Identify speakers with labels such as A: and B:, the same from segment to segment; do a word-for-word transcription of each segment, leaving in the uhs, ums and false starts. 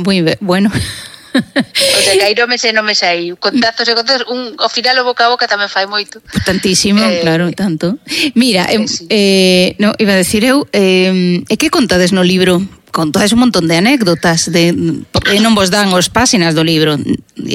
A: Moi bueno.
B: O sea, que aí non me sei, non me sei. Contactos e contactos, un, ao final o boca a boca tamén fai moito.
A: Tantísimo, eh, claro, tanto. Mira, eh,
B: sí.
A: eh, no, iba a decir eu, eh, e que contades no libro? Contades un montón de anécdotas, de, e non vos dan os páxinas do libro.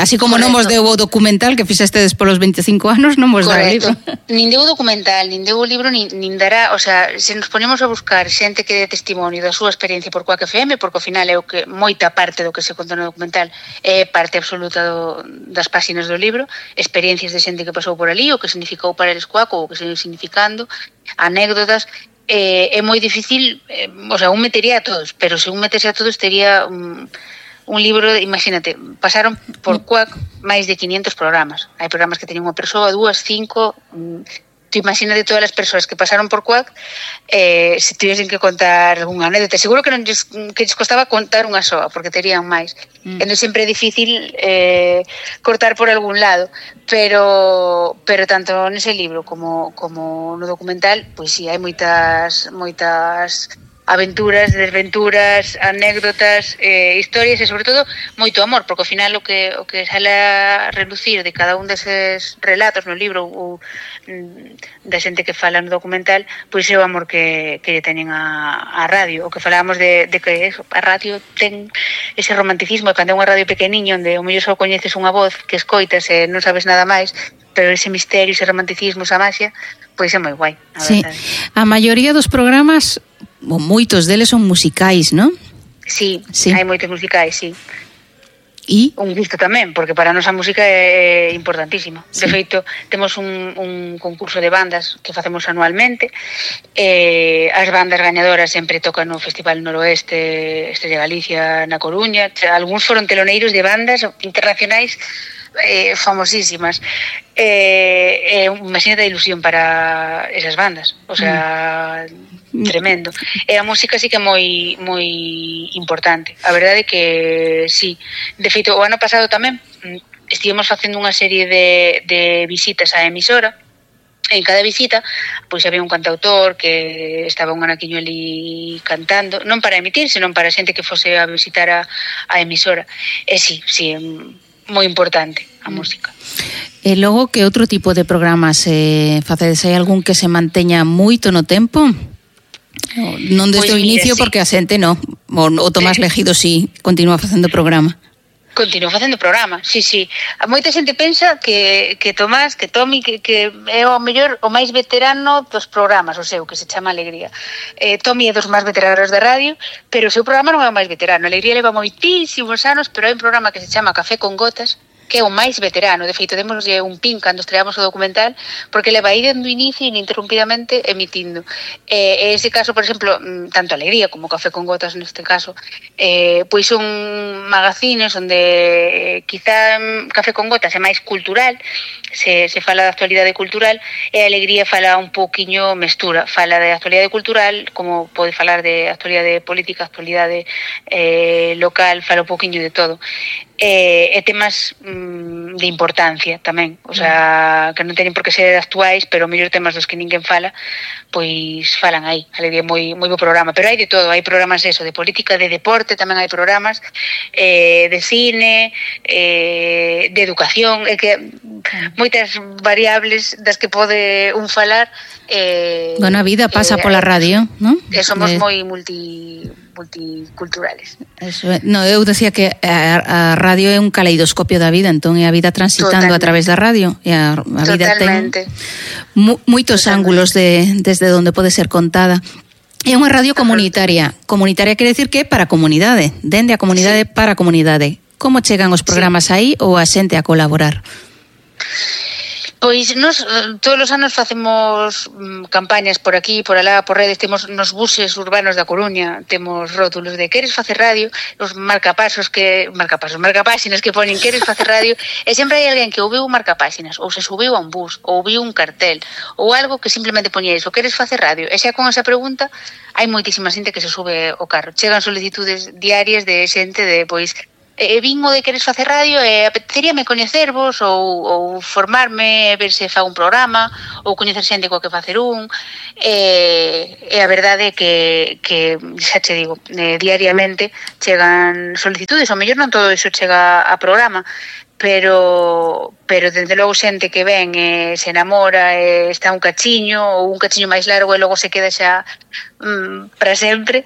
A: Así como Correcto. Non vos deu o documental que fixestedes polos veinticinco anos, non vos dá o libro.
B: Nin deu o documental, nin deu o libro, nin, nin dará, o sea, se nos ponemos a buscar xente que dé testimonio da súa experiencia por Quack F M, porque ao final é o que moita parte do que se conta no documental é parte absoluta do, das páxinas do libro, experiencias de xente que pasou por ali, o que significou para eles Quack, ou o que se significando, anécdotas. Eh, é moi difícil, eh, o sea, un metería a todos, pero se un metese a todos tería un, un libro, imagínate, pasaron por Quack máis de quinientos programas. Hai programas que teñen unha persoa, dúas, cinco, tú imagínate todas as persoas que pasaron por Quack, eh, se tivesen que contar unha anécdota, seguro que non lles, que lles costaba contar unha soa, porque terían máis. Mm. Entón sempre é difícil eh, cortar por algún lado, pero pero tanto nese libro como como no documental, pois si, sí, hai moitas moitas aventuras, desventuras, anécdotas, eh, historias e sobre todo moito amor, porque ao final o que o que sale a relucir de cada un deses relatos no libro ou da xente que fala no documental, pois é o amor que, que lle teñen a, a radio, o que falábamos de, de que eso, a radio ten ese romanticismo, cando é unha radio pequeniño onde o mellor só coñeces unha voz que escoitas e non sabes nada máis, pero ese misterio, ese romanticismo, esa magia, pois é moi guai, a
A: sí.
B: verdade.
A: A maioría dos programas, ou moitos deles son musicais, non?
B: Sí, sí, hai moitos musicais, sí.
A: E?
B: Un gusto tamén, porque para nós a música é importantísima. Sí. De feito, temos un, un concurso de bandas que facemos anualmente. Eh, as bandas gañadoras sempre tocan no Festival Noroeste, este de Galicia, na Coruña. Algúns foron teloneiros de bandas internacionais eh, famosísimas. Eh, eh, imagínate a ilusión para esas bandas. O sea... Mm. Tremendo. E a música sí que é moi moi importante. A verdade é que sí. De feito, o ano pasado tamén estivemos facendo unha serie de, de visitas á emisora. En cada visita, pois había un cantautor que estaba un anaquiño ali cantando, non para emitir, senón para xente que fose a visitar a, a emisora. E sí, sí, é moi importante a música.
A: E logo, que outro tipo de programas eh, facedes? Hai algún que se manteña moito no tempo? Non desde pues o inicio, mira, porque sí. A xente non. O, o Tomás Legido sí continúa facendo programa.
B: Continúa facendo programa, sí, sí. A moita xente pensa que, que Tomás, que Tomi, que, que é o mellor, o máis veterano dos programas, o seu, que se chama Alegría. Eh, Tomi é dos máis veteranos da radio, pero o seu programa non é o máis veterano. Alegría leva moitísimos anos, pero hai un programa que se chama Café con Gotas, que é o máis veterano. De feito, demoslle un pin cando estreamos o documental, porque leva aí dende o inicio ininterrumpidamente emitindo. Eh, ese caso, por exemplo, tanto Alegría como Café con Gotas neste caso, eh, pois son magazines onde eh, quizá Café con Gotas é máis cultural, se, se fala de actualidade cultural, e Alegría fala un pouquiño mestura, fala de actualidade cultural, como pode falar de actualidade política, actualidade eh, local, fala un pouquiño de todo. E, e temas mm, de importancia tamén, o sea, que non teñen por que ser actuais, pero o mellor temas dos que ninguén fala, pois falan aí. Alegría é moi moi bo programa, pero hai de todo, hai programas eso, de política, de deporte, tamén hai programas eh, de cine, eh, de educación, é que moitas variables das que pode un falar. Eh,
A: bueno, a vida pasa
B: eh,
A: pola radio, non?
B: Que somos
A: de...
B: moi multi multiculturales.
A: Eso é. No, eu decía que a, a radio é un caleidoscopio da vida, entón é a vida transitando Totalmente. A través da radio, e a, a vida ten mu, moitos Totalmente. Ángulos de, desde onde pode ser contada. É unha radio comunitaria. Comunitaria quere decir que é para a comunidade, dende a comunidade sí. Para a comunidade. Como chegan os programas sí. Aí ou a xente a colaborar?
B: Pois nos todos os anos facemos mm, campañas por aquí, por alá, por redes, temos nos buses urbanos da Coruña, temos rótulos de queres facer radio, os marcapasos que marcapasos, marcapáxinas que ponen queres facer radio, e sempre hai alguén que ou viu marcapáxinas, ou se subiu a un bus, ou viu un cartel, ou algo que simplemente poñía iso, queres facer radio, e xa con esa pregunta hai moitísima xente que se sube ao carro. Chegan solicitudes diarias de xente de, pois, e vin o de queres facer radio e apeteceríame coñecervos ou, ou formarme, ver se fa un programa ou coñecer xente coa que facer un e, e a verdade é que, que xa che digo, eh, diariamente chegan solicitudes, ao mellor non todo iso chega a programa, pero pero desde logo xente que ven e se enamora e está un cachiño ou un cachiño máis largo e logo se queda xa mm, para sempre,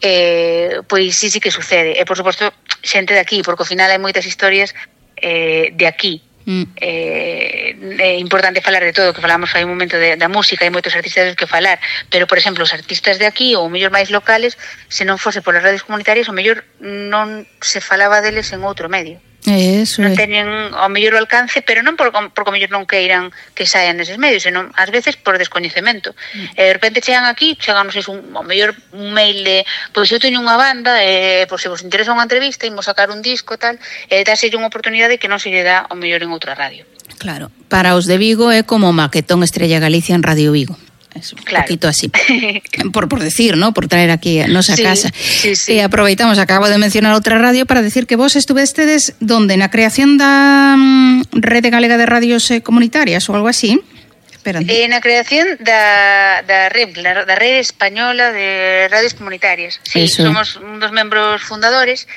B: eh, pois sí, sí que sucede. E por suposto xente de aquí, porque ao final hai moitas historias eh, de aquí. Mm. Eh, é importante falar de todo, que falamos hai un momento de, da música, hai moitos artistas que falar, pero por exemplo os artistas de aquí ou mellor máis locales, se non fose polas radios comunitarias, o mellor non se falaba deles en outro medio.
A: Eso
B: non
A: é.
B: teñen ao mellor o alcance, pero non por, por o mellor non queiran que saian neses medios, senón ás veces por descoñecemento. Mm. E de repente chegan aquí, chegan, non sei, un, ao mellor un mail de pois eu teño unha banda, e pois se vos interesa unha entrevista, imos sacar un disco tal, e dáselle unha oportunidade que non se lle dá ao mellor en outra radio.
A: Claro, para os de Vigo é como Maquetón Estrella Galicia en Radio Vigo. Es un claro. poquito así, por, por decir, ¿no? Por traer aquí a nosa sí, casa.
B: Sí, sí.
A: E aproveitamos, acabo de mencionar outra radio para decir que vos estuvestedes donde, na creación da um, Rede Galega de Radios eh, Comunitarias ou algo así.
B: Esperando. Eh, na creación da, da R E M, da Rede Española de Radios Comunitarias. Sí, eso. Somos un dos membros fundadores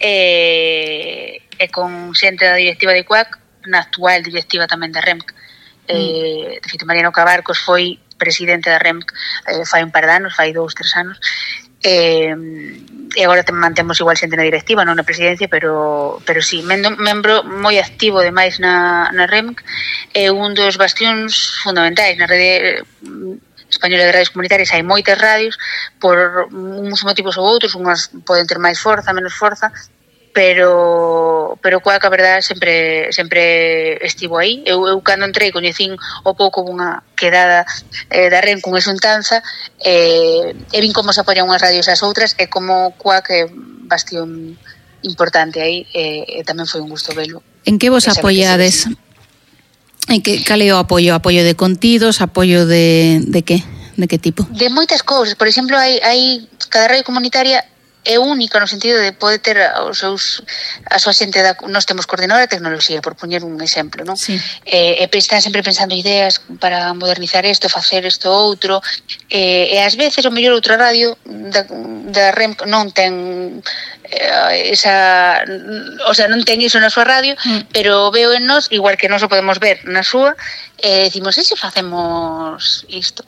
B: e, e con xente da directiva de C U A C, na actual directiva tamén da R E M. Mm. Eh, de feito, Mariano Cabarcos foi presidente da R E M eh, fai un par de anos, fai dous, tres anos, eh, e agora mantemos igual xente na directiva, non na presidencia, pero pero sí, membro, membro moi activo demais na, na R E M, é un dos bastións fundamentais na rede española de radios comunitarias. Hai moitas radios por uns motivos ou outros, unhas poden ter máis forza, menos forza, pero pero coa que a verdade sempre sempre estivo aí. Eu, eu cando entrei coñecín o pouco unha quedada eh, da R E M con exuntanza, eh, e vin como se apoian unhas radios ás outras e como coa que bastión importante aí, e, e tamén foi un gusto velo.
A: En que vos apoiades? En que cal é o apoio? Apoio de contidos, apoio de de que? De que tipo?
B: De moitas cousas. Por exemplo, hai hai cada radio comunitaria é única no sentido de poder ter os seus a súa xente da, nós temos coordinadora de tecnoloxía, por poñer un exemplo, non?
A: Sí.
B: Eh, e están sempre pensando ideas para modernizar isto, facer isto outro, eh, e ás veces o mellor outra radio da, da R E M non ten eh, esa, o sea, non ten iso na súa radio, mm. pero veo en nós, igual que nós o podemos ver na súa, e eh, decimos, e se facemos isto?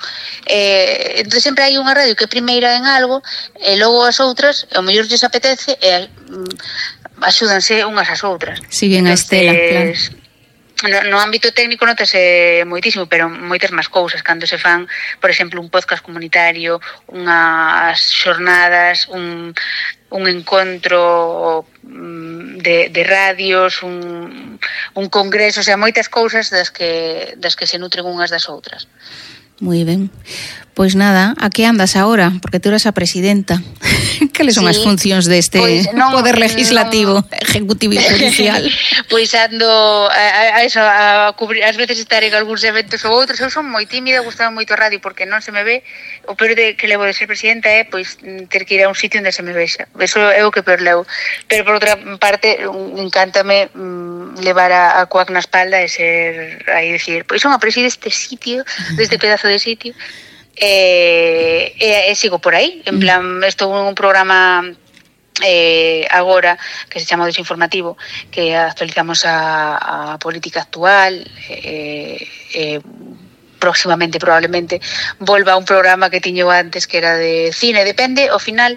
B: Eh, entón sempre hai unha radio que é primeira en algo, e logo as outras ao mellor lles apetece e mm, axúdanse unhas ás outras.
A: Siguen a estela, claro.
B: No, no ámbito técnico notase moitísimo, pero moitas máis cousas cando se fan, por exemplo, un podcast comunitario, unhas xornadas, un, un encontro de, de radios, un, un congreso, o sea, moitas cousas das que, das que se nutren unhas das outras.
A: Moi ben. Pois nada, a que andas agora? Porque tú eres a presidenta. Cales son sí. as funcións deste pues non, poder legislativo, non, ejecutivo e judicial?
B: Pois ando a, a eso, a cubrir, ás veces estar en algúns eventos ou outros. Eu son moi tímida, gustaba moito a radio porque non se me ve. O peor de que levo de ser presidenta é pois ter que ir a un sitio onde se me vexa. Eso é o que peor levo. Pero por outra parte, encántame mm, levar a, a C U A C na espalda e ser aí decir, pois son a preside este sitio, deste pedazo de sitio. E, e, e sigo por aí, en plan, estou en un programa eh, agora que se chama Desinformativo, que actualizamos a, a política actual, e eh, eh, próximamente probablemente volva a un programa que tiño antes que era de cine, depende ao final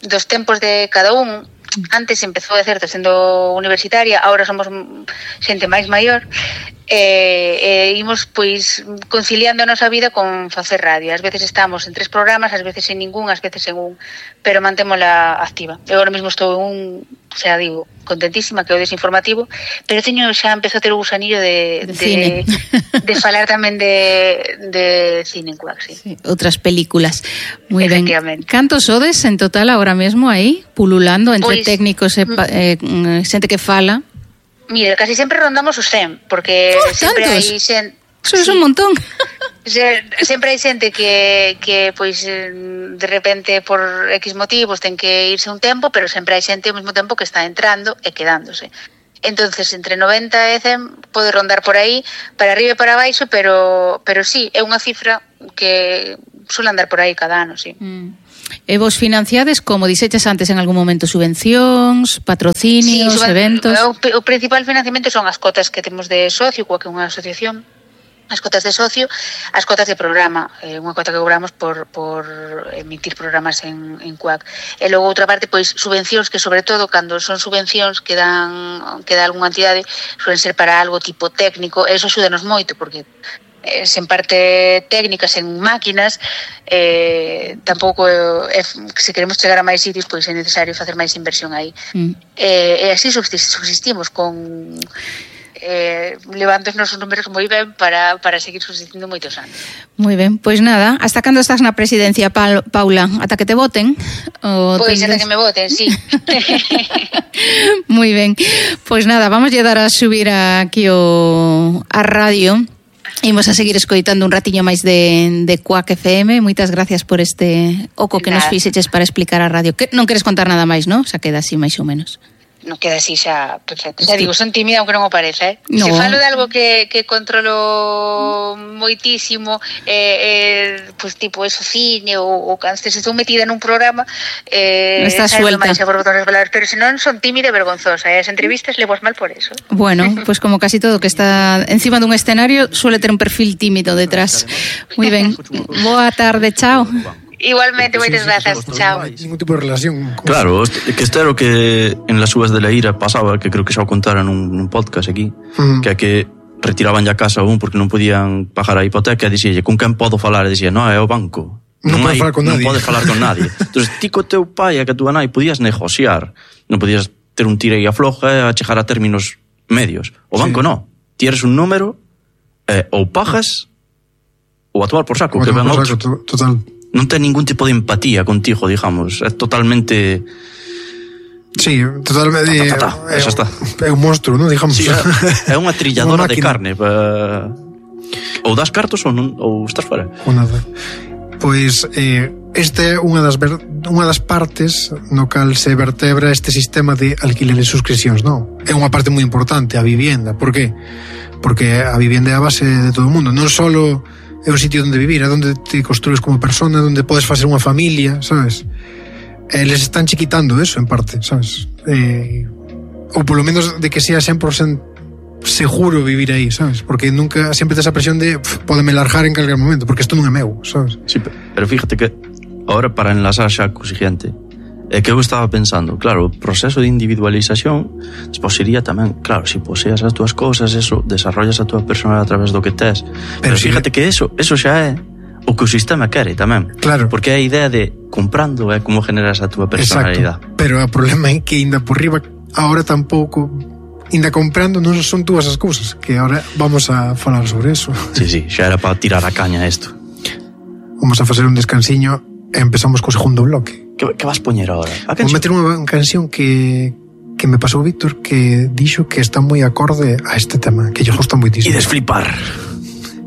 B: dos tempos de cada un. Antes empezou de certo sendo universitaria, agora somos xente máis maior, e, e imos pois conciliando a nosa vida con facer radio. Ás veces estamos en tres programas, ás veces en ningún, ás veces en un, pero mantémola activa. Eu agora mesmo estou en un, o sea, digo, contentísima, que é o Desinformativo, pero teño xa empezou a ter o gusanillo de, de, de, de falar tamén de, de cine en C U A C, sí. Sí,
A: outras películas. Moi ben. Cantos sodes en total agora mesmo aí, pululando entre pues, técnicos e eh, xente que fala?
B: Mira, casi sempre rondamos os cen, porque
A: oh,
B: sempre
A: tantos.
B: hai xente...
A: Eso é sí. un montón.
B: Sempre hai xente que, que pois, de repente, por X motivos, ten que irse un tempo, pero sempre hai xente ao mesmo tempo que está entrando e quedándose. Entonces, entre noventa e cen pode rondar por aí, para arriba e para baixo, pero, pero sí, é unha cifra que suele andar por aí cada ano, sí.
A: Mm. E vos financiades, como dixeches antes en algún momento, subvencións, patrocinios, sí, eventos?
B: O, o principal financiamento son as cotas que temos de socio, coa que é unha asociación, as cotas de socio, as cotas de programa, eh, unha cota que cobramos por, por emitir programas en, en C U A C. E logo outra parte, pois, subvencións que, sobre todo, cando son subvencións que dan, que dá algunha entidade, suelen ser para algo tipo técnico, e eso axúdanos moito, porque eh, sen parte técnica, sen máquinas, eh, tampouco, eh, se queremos chegar a máis sitios, pois é necesario facer máis inversión aí. Mm. E, e así subsistimos con... Eh, levando os nosos números moi ben para, para seguir subsistindo moitos anos.
A: Moi ben, pois nada, hasta cando estás na presidencia, Paula? Ata que te voten?
B: Pois ata que me voten, sí.
A: Moi ben, pois nada, vamos a dar a subir aquí o, a radio. Imos a seguir escoitando un ratiño máis de, de C U A C F M. Moitas gracias por este oco que nada. Nos fixeches para explicar a radio. Que non queres contar nada máis, non? Xa queda así máis ou menos.
B: Non queda así xa perfecto. Xa digo, son tímida aunque non o parece, eh? No. Se falo de algo que, que controlo moitísimo, eh, eh, pues tipo eso, cine ou, ou cando se estou metida nun programa, eh,
A: está suelta.
B: Máis por botones velados, pero se non son tímida e vergonzosa, e as entrevistas levo mal por eso.
A: Bueno, pues como casi todo que está encima dun escenario suele ter un perfil tímido detrás. Moi ben. Boa tarde, chao.
B: Igualmente, moitas grazas, chao.
C: Ningún tipo de relación.
D: Claro, que este era o que en las uvas de la ira pasaba, que creo que xa o contaran nun, nun podcast aquí, uh-huh. que a que retiraban ya casa un porque non podían pagar a hipoteca, e dixílle, con quen podo falar? E dixía, non, é o banco.
C: Non, non, hai, con
D: non
C: nadie.
D: podes falar con nadie. Entón, ti co teu pai e que a túa nai podías negociar, non podías ter un tira e afloja a chegar a términos medios. O banco sí. non. Ti eres un número, eh, ou pagas ou a tomar por saco, o que ven outro.
C: Total.
D: Non ten ningún tipo de empatía contigo, digamos. É totalmente...
C: Sí, totalmente...
D: Ta, ta, ta, ta. Eso está.
C: É un monstruo, non? Digamos.
D: Sí, é unha trilladora de carne. Pa... Ou das cartos ou, non, ou estás fora.
C: Ou nada. Pois eh, esta é unha das, ver, unha das partes no cal se vertebra este sistema de alquiler e suscripcións, non? É unha parte moi importante, a vivienda. Por qué? Porque a vivienda é a base de todo o mundo. Non só é un sitio onde vivir, é onde te construes como persona, onde podes facer unha familia, sabes? E les están chiquitando eso, en parte, sabes? Eh, ou polo menos de que sea cen por ciento seguro vivir aí, sabes? Porque nunca, sempre tes a presión de podeme largar en calquer momento, porque isto non é meu, sabes?
D: Sí, pero fíjate que ahora para enlazar xa co siguiente, é que eu estaba pensando, claro, o proceso de individualización despois sería tamén, claro, se si poseas as túas cousas, eso, desarrollas a túa persona a través do que tes, pero, pero fíjate que... que eso, eso xa é o que o sistema quere tamén,
C: claro.
D: Porque é a idea de comprando é como generas a túa personalidade.
C: Exacto, pero o problema é que ainda por riba ahora tampouco, ainda comprando non son túas as cousas, que ahora vamos a falar sobre eso.
D: Sí, sí, xa era para tirar a caña isto.
C: Vamos a facer un descansiño e empezamos co segundo bloque.
D: Que, que vas poñer agora?
C: Vou meter unha canción que, que me pasou Víctor, que dixo que está moi acorde a este tema, que lle gusta moitísimo.
D: E desflipar.